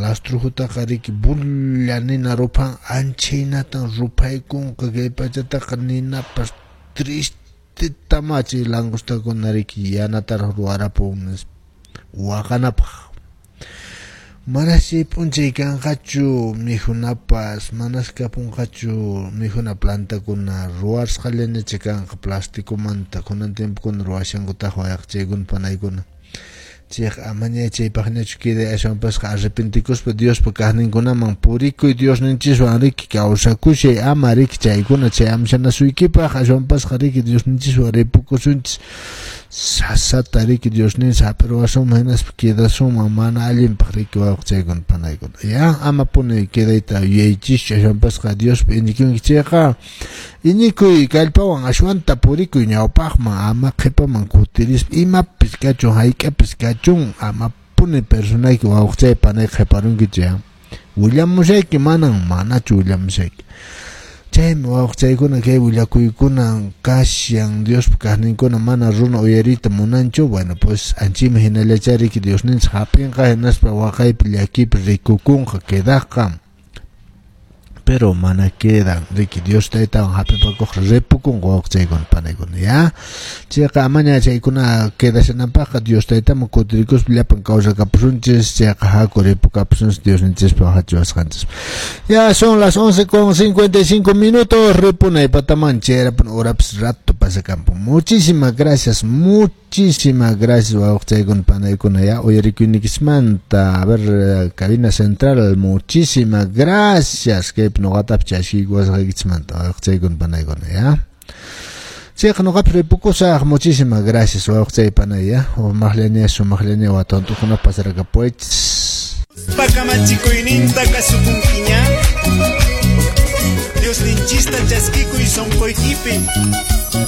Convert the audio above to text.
Lastrujutaqa riki bulla nina ruphan, anchaynatan ruphaykunqa kay pachataqa ninapas tristeta chay langostakuna riki yanataraq ruwarapun nispa waqanapaq. Manas chay p'unchay kanqachu mikhunapas, manas kapunqachu mikhuna plantakuna, ruwasqallañacha kanqa plasticomanta, kunan tiempokuna ruwashankutaq wayaqchaykuna panaykuna. Chayqa amaña chaypaqñachu queday, ashwanpasqa arrepentikuspa Diospa kaqninkunaman purikuy, Diosninchiswan riki kawsakushay, ama riki chaykuna chay amshanasuykipaq, ashwanpasqa riki Diosninchiswan ripukusunchis, sasata riki Diosninchis hap'iruwasunman hinaspa quedasunman mana allinpaq riki wawqichaykuna panaykuna. Ya amapuni quedayta yuyaychischu, ashwanpasqa Diospa iñikunki chayqa iñikuy kallpawan ashwanta purikuy ñawpaqman, ama qhipaman kutirispa, imapis kachun hayk'apis kachun, amapuni personayki wawqichay panay qhiparunkichu ya. Willamushayki manan manachu willamushayki. Chaymi wawqichaykuna kay willakuykuna kashan Diospa kaqninkuna mana runa uyariyta munanchu, bueno pues anchimi hinallachá riki Diosninchik hap'inqa hinaspa waqaypi llakipi rikukunqa quedaqqa. Pero mana quedan riki Dios taytawan hap'ipakuq ripukunqa wawqichaykuna panaykuna ya. Chayqa amaña chaykuna quedashananpaqqa Dios taytaman kutirikuspa llapan kawsakapusunchis, chayqa haku ripukapusunchis Diosninchispa hachiwasqanchis. Ya son las 11:55, ripunay pataman chayrapun horapis rato pasakampu. Muchísimas gracias, muchísimas gracias wawqichaykuna panaykuna ya uyarikuynikismanta. A ver, cabina central, muchísimas gracias kaypi nuqatapis chaskiykuwasqaykichismanta wawqichaykuna panaykuna ya. Chayqa nuqapis ripukusaq, muchísimas gracias wawqichay panay ya. Umaqllaña sumaqllaña watantukuna pasarakapuwaychis. Pakamachikuyninta kasukunkiña. Diosninchista chaskikuy sunquykipi.